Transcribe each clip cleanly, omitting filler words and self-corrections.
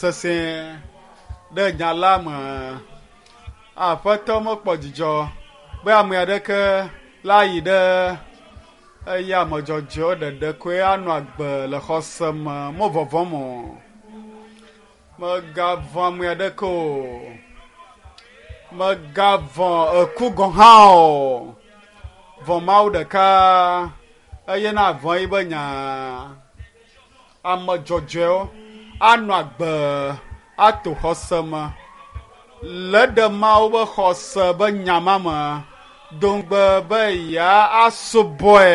Sesẽ ɖe nya la me. Aƒetɔ mekpɔ dzidzɔ be ame aɖeke la yi ɖe eye ame dzɔdzɔewo ɖeɖe koe anɔ agbe le xɔse me mo vɔvɔm o. Mègavɔ̃ ame aɖeke o. Mègavɔ̃ eku gɔ̃ hã o. Vɔ̃ Mawu ɖeka eye navɔ̃ yiƒe nya. Ame dzɔdzɔewo anɔ agbe ato xɔse me le ɖe Mawu ƒe xɔse be nya ma me do ŋugbe be yeasubɔe.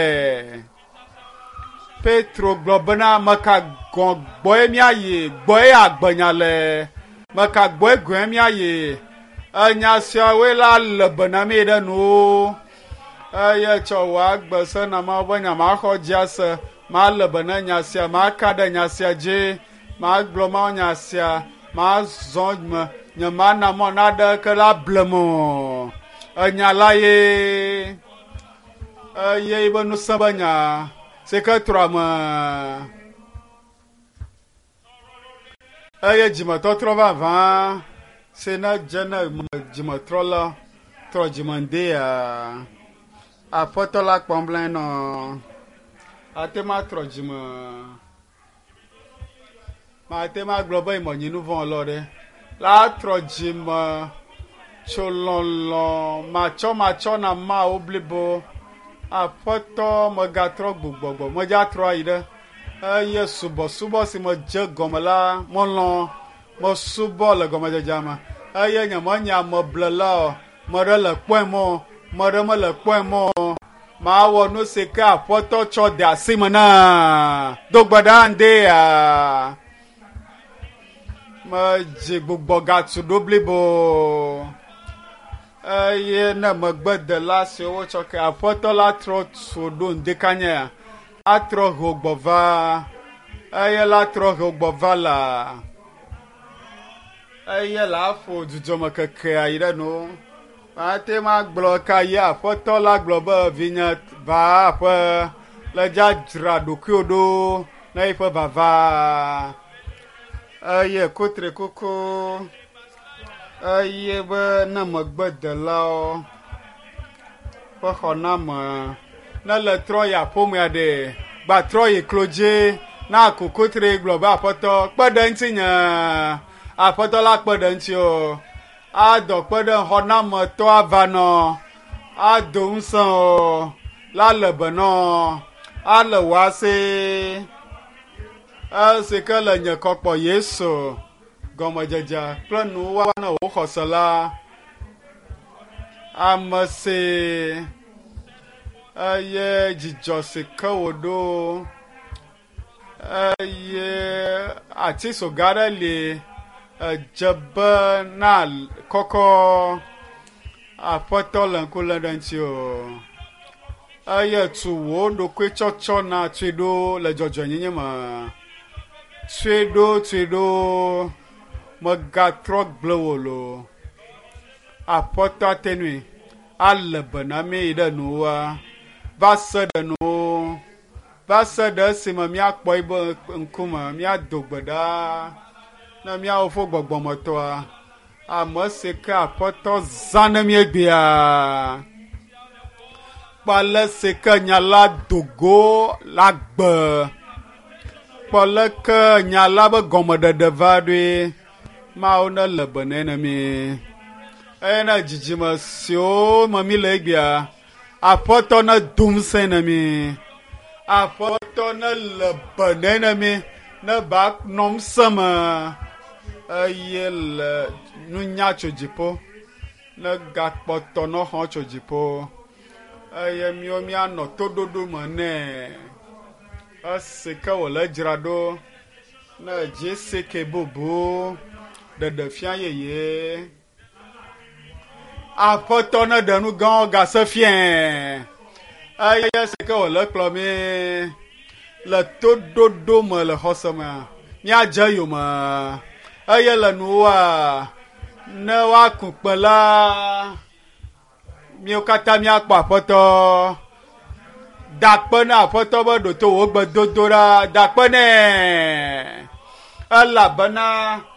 Petro gblɔ bena meka gɔ̃ gbɔe míayi, gbɔe agbenya le, meka gbɔe gɔ̃e míayi. Enya siawoe la le be na mí ɖe nuwo. Eye tsɔ wò agbe se na Mawu be nya maxɔ dzi ase, male be na nya sia, maka ɖe nya sia dzi, magblɔ Mawu nya sia, mazɔ me, nyemana mɔ naɖeke la blem o. Enya la ye. Eye yiƒe ŋusẽ be nya si ke trɔ ame. Eye dzimetɔtrɔ vavã si ne dze ne dzimetrɔla trɔ dzime ŋdea, Aƒetɔ la kpɔm blanyi nɔ. Ate ŋu atrɔ dzime. Mate ŋu agblɔ be menyi nu vɔ̃ lɔ ɖe. La trɔ dzime tso lɔlɔ̃ matsɔmatsɔ na Mawu blibo. Aƒetɔ megatrɔ gbugbɔgbɔ medza trɔ ayi ɖe eye subɔsubɔ si medze gɔme la melɔ̃ mesubɔ le gɔmedzedzea me eye nyemenye ameblela o. Meɖe le kpɔe mɔ, meɖe mele kpɔe mɔ. Mawɔ nu si ke Aƒetɔ tsɔ de asi me na. Do gbe ɖa ŋdea. Medzi gbugbɔ gatu ɖo blibo. Eye ne megbedela siwo wotsɔ ke Aƒetɔ la trɔ tu ɖo ŋdekanyea, atrɔ ho gbɔ va. Eye la trɔ ho gbɔ va la. Eye la ƒo dzudzɔme kekea yi ɖe nu. Mate ŋu agblɔ ka ye Aƒetɔ la gblɔ be vinye va aƒe le dzadzra ɖokuiwò ɖo na eƒe vava. Eye kutrikuku eye be ne megbedelawo ƒe xɔname ne le trɔ yi aƒomea ɖe gbatrɔ yi klodzi na ku kutri gblɔ be Aƒetɔ kpe ɖe ŋutinye. Aƒetɔ la kpe ɖe ŋutiwò. Adɔ kpe ɖe xɔnametɔ ava nɔ, ado ŋusẽ o, la le be nɔ, ale wò asi. Esi ke le nye kɔkpɔ Yesu gɔmedzedze kple nuwɔna na wò xɔse la, ame si eye dzidzɔ si ke wòɖo eye ati soga aɖe li edze be na kɔkɔ Aƒetɔ le ŋku lém ɖe ŋuti o. Eye tu wò ɖokui tsɔtsɔ na tui ɖo le dzɔdzɔenyenye me. Tui ɖo, tui ɖo, mègatrɔ gblẽ wò lo. Aƒetɔ ate ŋui alé be na mí yi ɖe nuwua va se ɖe nuwo. Va se ɖe esime míakpɔ eƒe ŋkume, míado gbe ɖa ne míawo fo gbɔgbɔmetɔa, ame si ke Aƒetɔ zã ne míegbea. Kpɔ ale si ke nya la do go le agbe. Kpɔ leke nya la be gɔmeɖeɖe va ɖoe. Mawu nele be nɛ ne mí. Eye ne dzidzime siwo me míle egbea, Aƒetɔ nedo ŋusẽ ne mí. Aƒetɔ nele be nɛ ne mí ne ba nɔ ŋusẽ me eye le nunya tso dziƒo ne gakpɔtɔ nɔ xɔ tso dziƒo eye míwo míanɔ toɖoɖo me nɛ esi ke wòle dzra ɖo ne GCK bubu ɖeɖefia yeye. Aƒetɔ neɖe nu gãwo gase fiae. Eye esi ke wòle kplɔ mí le toɖoɖo me le xɔse me, míadze eyome. Eye le nuwòa, ne woaku kpe la, míwo katã míakpɔ Aƒetɔ. Da akpe na Aƒetɔ be ɖo to wò gbedodoɖa. Da akpe nɛ elabena.